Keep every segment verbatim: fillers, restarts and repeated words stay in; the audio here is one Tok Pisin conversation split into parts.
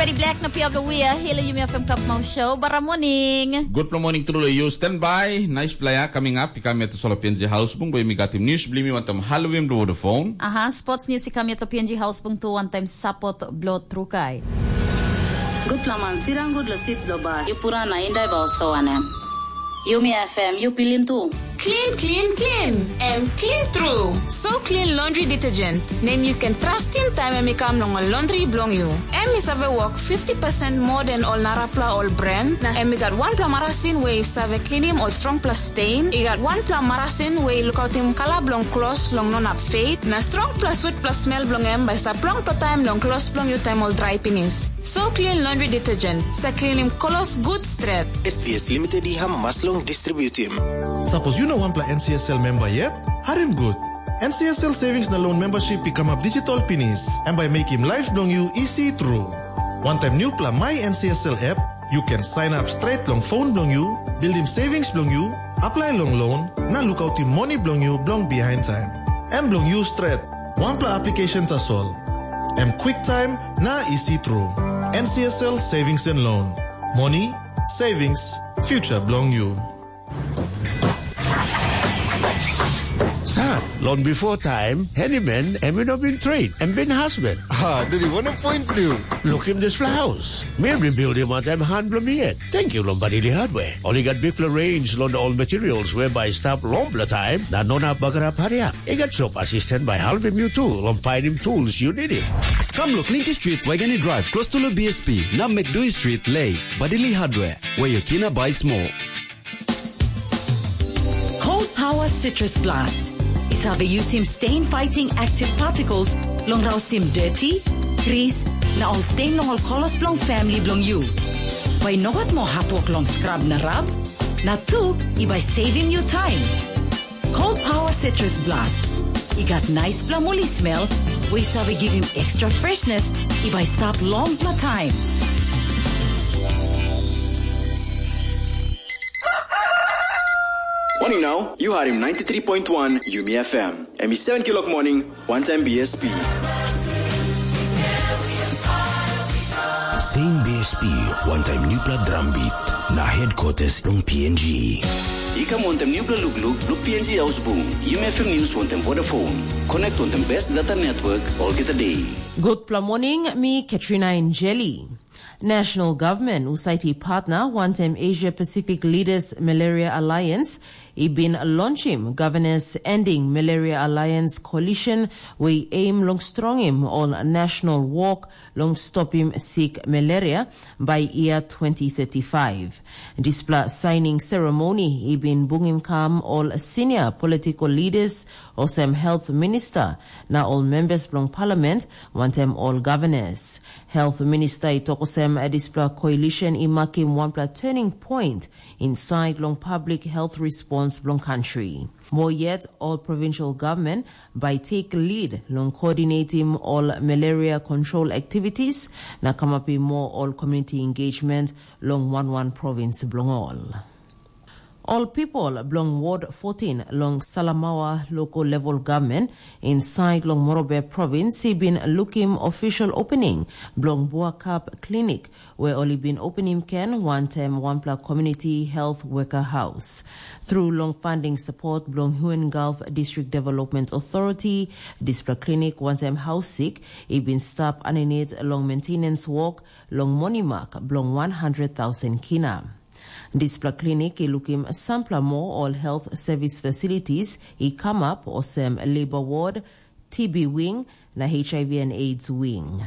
Ready Black na Piablo Wia, hilo yumi FM Cup Mau Show, bara morning. Good morning, truly you stand by. Nice player coming up, ikam yet solo P N G House Bung, boy mi gatim news, blimi wantam Halloween blue the phone. Aha, sports news ikam yet P N G House Bung tu one time support blo trukai. Gutpela man sirang gut lo sit lo bas, yupura na indai ba oso wanem. Yumi F M, yu pilim tu. Clean, clean, clean. Em clean tru. So clean laundry detergent. Nem yu ken trustim taim em i kam long ol laundry bilong yu. Em i save wok fifty percent moa den ol narapela ol brand, na em i gat wanpela marasin we i save klinim ol strongpela stain, i gat wanpela marasin we i lukautim kala bilong klos long no inap fade, na strongpela switpela smel bilong em bai i stap longpela taim long klos bilong yu taim ol drai pinis. So clean laundry detergent, sa klinim klos gut stret. S B S Limited i hamas long distributim. Sapos yu no wanpela N C S L memba yet, harim gut. N C S L Savings na Loan Membership i kamap digital pinis, em bai mekim laip bilong yu isi tru. Wantaim nupela My N C S L app, yu ken sign up straight long phone bilong yu, buildim savings bilong yu, apply long loan, na lukautim moni bilong yu bilong behind time. Em bilong yu stret, wanpela application tasol. Em quick time na isi tru. N C S L Savings and Loan. Moni, savings, future bilong yu. Sat, long before time, handyman em i no bin trade, em bin husband. Ha, diri wanem point blue? Lukim dispela haus. Mi bin buildim wantaim han bilong mi yet. Thank you long Badili Hardware. Ol i gat bikpela range long ol materials we bai stap longpela taim, na no inap bagarap hariap. I gat shop assistant bai helpim yu tu long painim tools yu nidim. Kam lo Clinton Street, Waigani Drive, close to lo B S P, na McDui Street, Lay, Badili Hardware, where your tina buy small. Cold Power Citrus Blast. I save yusim stain fighting active particles long rausim dirty, grease, na ol stain long ol kolos bilong family bilong yu. Bai no gat moa hatwok long scrub na rub, na tu i bai saving you time. Cold Power Citrus Blast. I gat nice pla moli smell, we i save givim extra freshness, i bai stap long pla time. Morning now, you are in ninety-three point one Yumi F M. Em i seven kilok morning, one time B S P. Same B S P, one time nupla drum beat, na headquarters long P N G. I kam wantaim nupla lukluk, luk P N G Ausbung, Yumi F M News wantaim Vodafone. Connect wantaim best data network, olgeta day. Gutpela morning, mi Katrina Injeli. National Government, Usaiti Partner, wantaim Asia Pacific Leaders Malaria Alliance, i bin launchim Governors Ending Malaria Alliance Coalition, we aim long strongim ol national work long stopim sick malaria by year twenty thirty-five. Dispela signing ceremony i bin bungim kam ol senior political leaders, osem health minister, na ol members bilong parliament, wantaim ol governors. Health minister i tok osem, dispela coalition i makim wanpela turning point inside long public health response bilong country. More yet, all provincial government by take lead long coordinating all malaria control activities, na come up more all community engagement long one one province bilong all. All people bilong Ward fourteen long Salamaua local level government inside long Morobe province, i bin lukim official opening bilong Buakap Clinic, where oli bin opening ken wantaim wanpela community health worker house. Through long funding support bilong Huon Gulf District Development Authority, dispela clinic wantaim house sick, i bin stap aninit long maintenance work long monimak bilong one hundred thousand kina. Dispela klinik i lukim sampela moa ol health service facilities i kamap olsem labor ward, T B wing, na H I V and AIDS wing.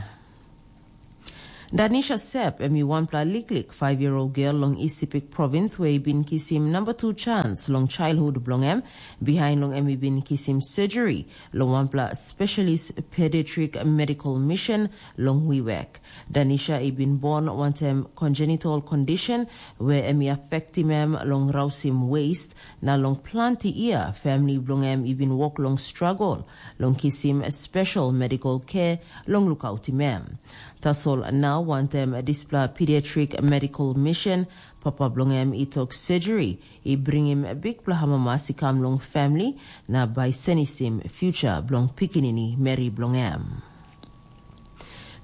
Danisha Sep, em i wanpela liklik five-year-old girl long Isipik Province, where i bin kisim number two chance long childhood bilong em, behind long em i bin kisim surgery long wanpela specialist pediatric medical mission long Wewak. Danisha i bin bon wantaim congenital condition, where em i affectim em long rausim waist, na long planti year, family bilong em i bin wok long struggle long kisim special medical care long lukautim em. Tasol nau wantaim dispela pediatric medical mission, papa bilong em i tok surgery i bringim bikpela amamas i kam long family, na bai senisim future bilong pikinini meri bilong em.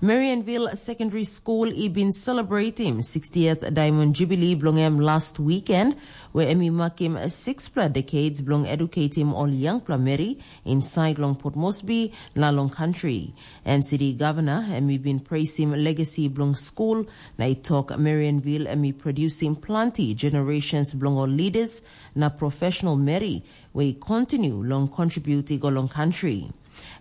Marianville Secondary School i bin celebratim sixtieth Diamond Jubilee bilong em last weekend, where em i makim sixpela decades bilong educatim ol yangpela meri inside long Port Moresby na long country. And city governor em i bin praising legacy bilong school, na i tok Marianville em i producing planti generations bilong ol leaders na professional meri, where i continue long contribute i go long country.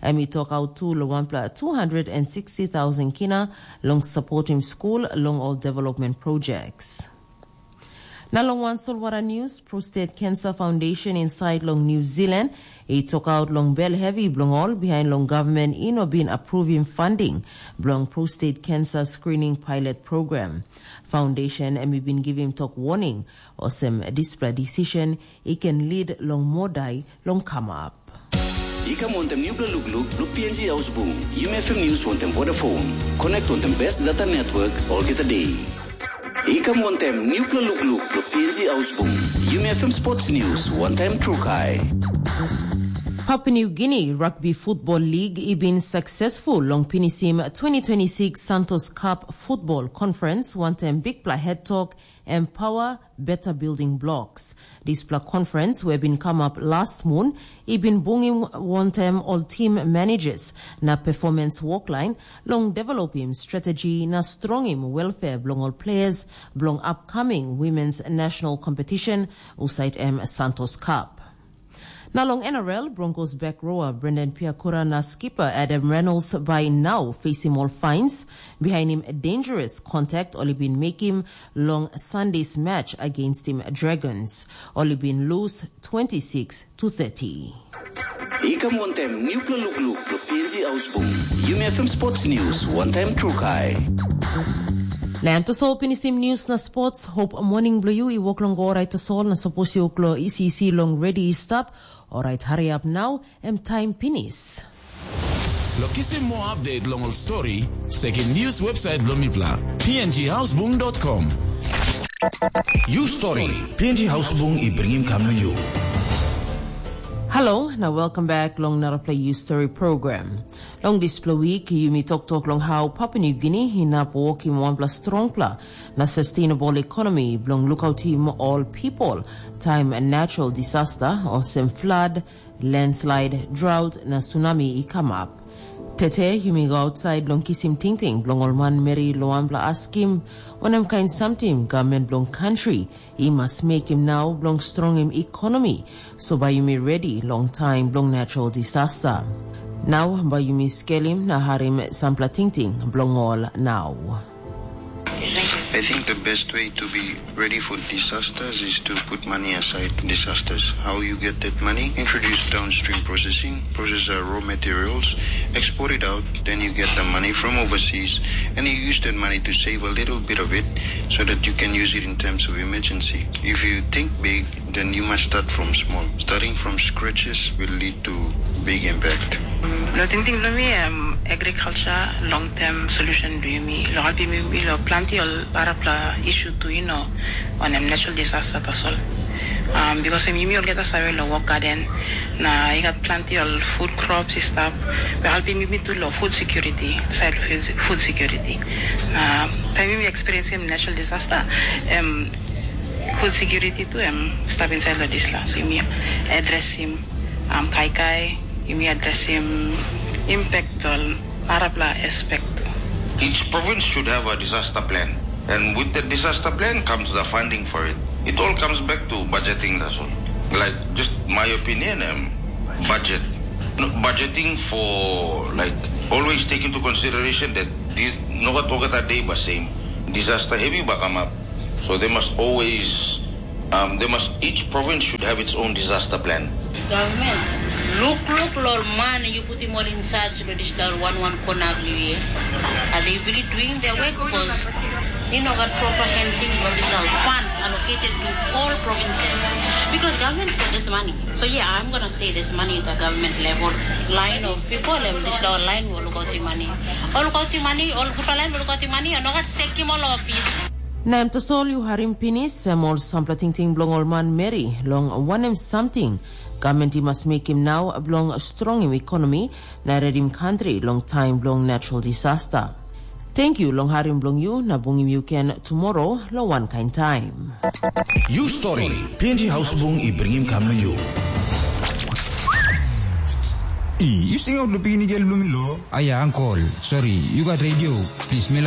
Em i tok out tu long wanpela two hundred and sixty thousand kina long supporting school long all development projects. Na long wan solwara news, Prostate Cancer Foundation inside long New Zealand i tok out long bel heavy bilong ol behind long government i no bin approving funding bilong prostate cancer screening pilot program. Foundation em i bin givim tok warning, olsem dispela decision i can lead long more die long come up. I kam wantem nupela lukluk long P N G Hausbung. Yumi F M News wantem Vodafone. Connect wantem best data network olgeta day. I kam wantem nupela lukluk long P N G Hausbung. Yumi F M Sports News wantem Trukai. Papua New Guinea Rugby Football League i bin successful long pinisim twenty twenty-six Santos Cup Football Conference wantem bikpela head talk Empower Better Building Blocks. Dispela conference we bin come up last moon, i bin bungim wantem ol team managers na performance workline long developim strategy na strongim welfare bilong ol players bilong upcoming women's national competition, usait em Santos Cup. Na long N R L, Broncos back rower Brendan Piakura na skipper Adam Reynolds by now facing all fines behind him dangerous contact ol i bin making long Sunday's match against him Dragons. Ol i bin lose twenty-six to thirty. I kam wantem nupela lukluk long P N G Ausbung. Yumi F M Sports News, one time Trukai. Na em tasol pinisim news na sports. Hope morning bilong you i wok long go orait tasol na sapos you klo isi isi long ready stap. Orait hurry up now, em time pinis. Lo kisim more update long ol story, sekim news website bilong mipela, P N G Ausbung dot com. You story, P N G Ausbung i bringim kam na you. Hello, na welcome back long narapela You Story program. Long dispela week, yumi toktok long how Papua New Guinea inap wokim wanpela strongpela na sustainable economy bilong lukautim ol people time natural disaster olsem flood, landslide, drought na tsunami i kamap. Tete yumi go outside long kisim tingting bilong ol manmeri long wanpela askim wanem kain samting gavman bilong kantri i mas mekim nau bilong strongim ekonomi, so bai yumi redi long taim bilong natural disaster. Nau bai yumi skelim na harim sampela tingting bilong ol nau. I think the best way to be ready for disasters is to put money aside for disasters. How you get that money? Introduce downstream processing, process our raw materials, export it out, then you get the money from overseas, and you use that money to save a little bit of it so that you can use it in times of emergency. If you think big, then you must start from small. Starting from scratches will lead to big impact. Lo tingting bilong mi, em agriculture long term solution bilong yumi lo helpim yumi lo planti ol arapela issue tu, you know, on em natural disaster tasol. Um, because em yumi olgeta save lo work garden na i gat planti ol food crops i stap, we helpim yumi tu lo food security, side food, food security. Na time yumi experience em natural disaster, em food security tu em stap inside lo disla. So yumi address him, um, kaikai, yumi address him impact ol arapela aspect tu. Each province should have a disaster plan. And with the disaster plan comes the funding for it. It all comes back to budgeting, that's all. Like, just my opinion, um, budget. No, budgeting for, like, always take into consideration that this, no gat olgeta day ba same. Disaster heavy ba come up. So they must always, um, they must, each province should have its own disaster plan. Government, look, look, lo ol man, you put him all in charge, lo digital one, one corner, you hear? Are they really doing their work? Because you know, got proper handling of these funds allocated to all provinces. Because government said this money. So yeah, I'm gonna say this money at the government level. Line of people, em digital line, will look out the money. All look out the money, all good line, will look out the money, and not take him all office. Na em tasol yu harim pinis, em ol sampela tingting bilong ol manmeri, long wanem samting gavman i mas mekim nau bilong strongim ekonomi na redim kantri long taim bilong natural disaster. Tenkyu long harim bilong yu na bungim yu ken tumora long wankain taim. Yu stori, P N G Haus Bung i bringim kam long yu. I, yu singaut lo pikinini gel bilong mi lo? Aya, ankol, sori, yu gat redio? Plis, mi